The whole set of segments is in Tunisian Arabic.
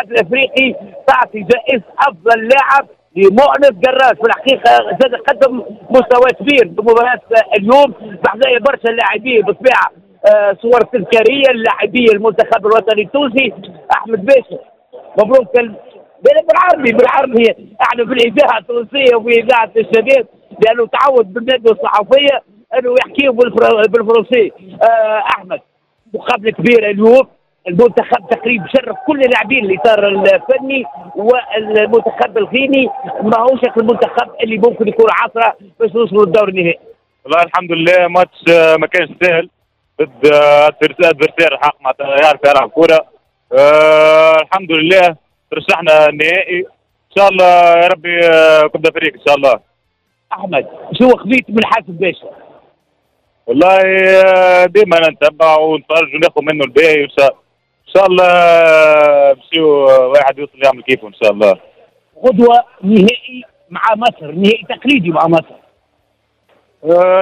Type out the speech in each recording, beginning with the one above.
الافريقي تعطي جائزة افضل لاعب لمؤنس قراش. في الحقيقة زاد قدم مستوى كبير بمباراة اليوم، بحذايا برشا لاعبين بالطبيعة، صور تذكارية للاعبي المنتخب الوطني التونسي. احمد باشا مبروك. بالعربي احنا في الاذاعة التونسية وفي اذاعة الشباب، لانه تعود بالندوه الصحفية انه يحكيه بالفرنسي. احمد، مقابله كبيرة اليوم، المنتخب تقريبا شرف كل اللاعبين الاطار الفني، والمنتخب الغيني ماهوش المنتخب اللي ممكن يكون عثره باش نوصلوا للدور النهائي. والله الحمد لله، ماتش ما كانش سهل ضد adversaire الحق معناتها يعرف يلعب كورة. الحمد لله ترشحنا النهائي، ان شاء الله يا ربي coupe d'Afrique ان شاء الله. احمد، شو خذيت من حاسب باشا؟ والله ديما نتبع ونتفرج وناخذ منه الباهي، وان شاء الله نمشيو واحد يوصل يعمل كيفه ان شاء الله. غدوه نهائي مع مصر، نهائي تقليدي مع مصر.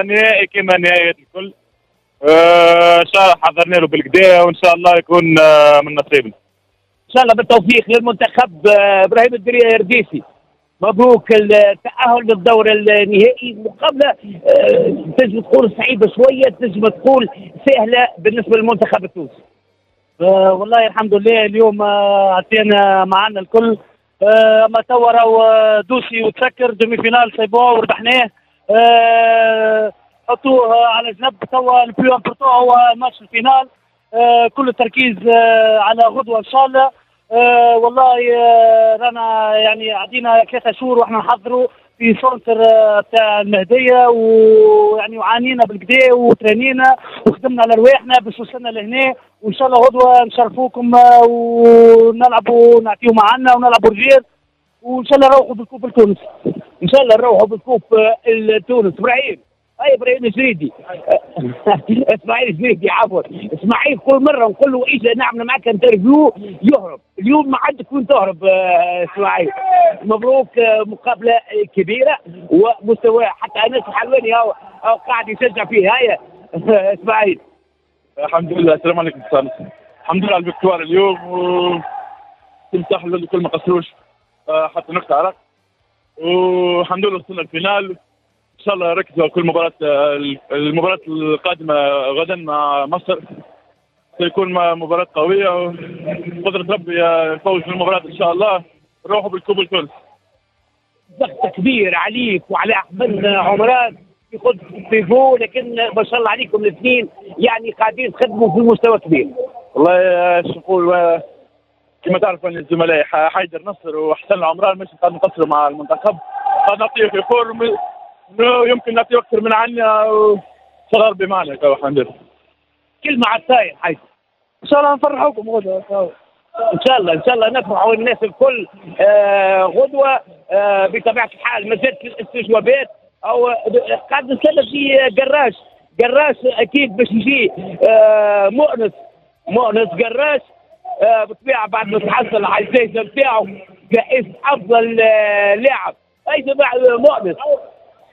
نهائي كما نهائيات الكل. ان شاء الله حضرنا له بالكدا وان شاء الله يكون من نصيبنا. ان شاء الله بالتوفيق للمنتخب. ابراهيم الدرديسي، مبروك التأهل للدور النهائي. مقابلة تنجم تقول صعيبة شوية، تنجم تقول سهلة بالنسبة للمنتخب التونسي. والله الحمد لله اليوم عطينا معنا الكل، اما توا راهو dossier وتسكر demi-finale c'est bon وربحناه، حطوه على جنب. توا ال plus important هو match ال finale، كل التركيز على غدوه ان شاء الله. والله رانا يعني عدينا 3 شهور واحنا نحضروا في centre تاع المهدية، ويعني وعانينا بالكدا وترانينا وخدمنا على رواحنا باش وصلنا لهنا، وان شاء الله غدوه نشرفوكم ونلعبوا نعطيو معنا ونلعبوا رجال، وان شاء الله نروحوا بال coupe لتونس. ان شاء الله نروحوا بال coupe لتونس. ابراهيم، اي ابراهيم الجريدي، اسماعيل الجريدي عفوا، اسماعيل كل مرة نقول له اجا نعمل معك interview يهرب، اليوم ما عندك وين تهرب. اسماعيل مبروك، مقابله كبيرة ومستوى حتى انس الحلواني هو قاعد يشجع فيه. هيا اسماعيل. الحمد لله، السلام عليكم. الحمد لله على ال victoire اليوم، و تمسح الكل ما قصروش حتى نقطة عرق، والحمد لله وصلنا ال finale. ان شاء الله ركزوا كل مباراة، المباراة القادمة غدا مع مصر سيكون مباراة قوية، وقدرة ربي الفوز في المباراة ان شاء الله، نروحوا بال coupe لتونس. ضغط كبير عليك وعلى احمد عمران في خط pivot، لكن ما شاء الله عليكم الاثنين يعني قاعدين تخدموا في مستوى كبير. والله شو نقول، كما تعرفوا ان الزملاء حيدر نصر وحسن العمران مش قاعد نقصروا مع المنتخب، قاعد نعطيه في forme يمكن نعطيه اكثر من عنا، وصغار ربي معنا الحمد لله. كلمة على الطاير حيدر. ان شاء الله نفرحوكم غدوه. ان شاء الله، ان شاء الله نفرحوا الناس الكل غدوه. بطبيعة الحال ما زالت الاستجوابات، او قاعد نتكلم في قراش، قراش اكيد باش يجي مؤنس قراش بالطبيعة بعد ما تحصل على الجائزة نتاعو جائزة افضل لاعب. اي جماعة مؤنس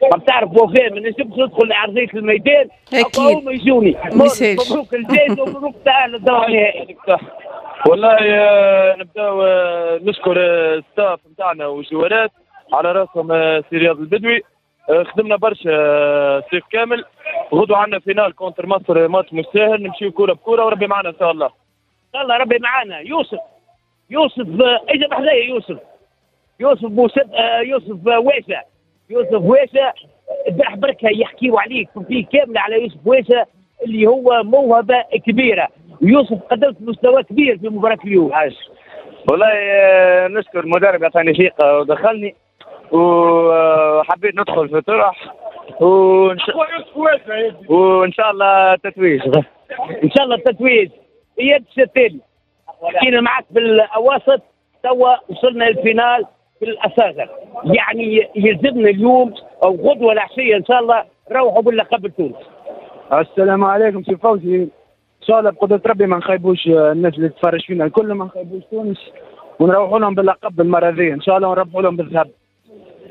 ما تعرف وفاء ما نجمش ندخل لارضيه الميدان، اكيد هما يجوني. مبروك الجائزة ومبروك التاهل للدور النهائي. والله نبداو نشكر ال staff نتاعنا والجوارات على راسهم سي رياض البدوي، خدمنا برشا صيف كامل. غدوه عندنا finale contre مصر، ماتش مش ساهل، نمشيو كورة بكوره وربي معنا ان شاء الله. ان شاء الله ربي معنا. يوسف، يوسف اجا بحذايا. يوسف، يوسف بوسد، يوسف واشا، يوسف واشا البارح بركة يحكيوا عليك في كاملة على يوسف واشا اللي هو موهبة كبيرة. يوسف قدمت مستوى كبير في مباراة اليوم. عاش والله، نشكر المدرب عطاني ثقة ودخلني، وحبيت ندخل في طرح، وان شاء الله تتويج. ان شاء الله التتويج. اياد الشتالي، حكينا معك بالاواسط، توا وصلنا لل finale في الاصاغر، يعني يلزمنا اليوم او غدوه العشية ان شاء الله روحوا باللقب لتونس. السلام عليكم سي فوزي، ان شاء الله بقدره ربي ما نخيبوش الناس اللي تتفرج فينا الكل، ما نخيبوش تونس ونروحوا لهم باللقب المرة ذي ان شاء الله، ونربحوا لهم بالذهب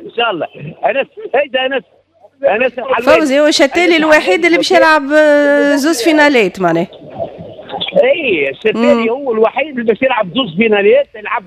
ان شاء الله. انس، هيدا انس، انس فوزي هو شتالي الوحيد اللي باش يلعب زوز فينالات معناه. اي، السفاري هو الوحيد اللي باش يلعب زوز فينالات، يلعب.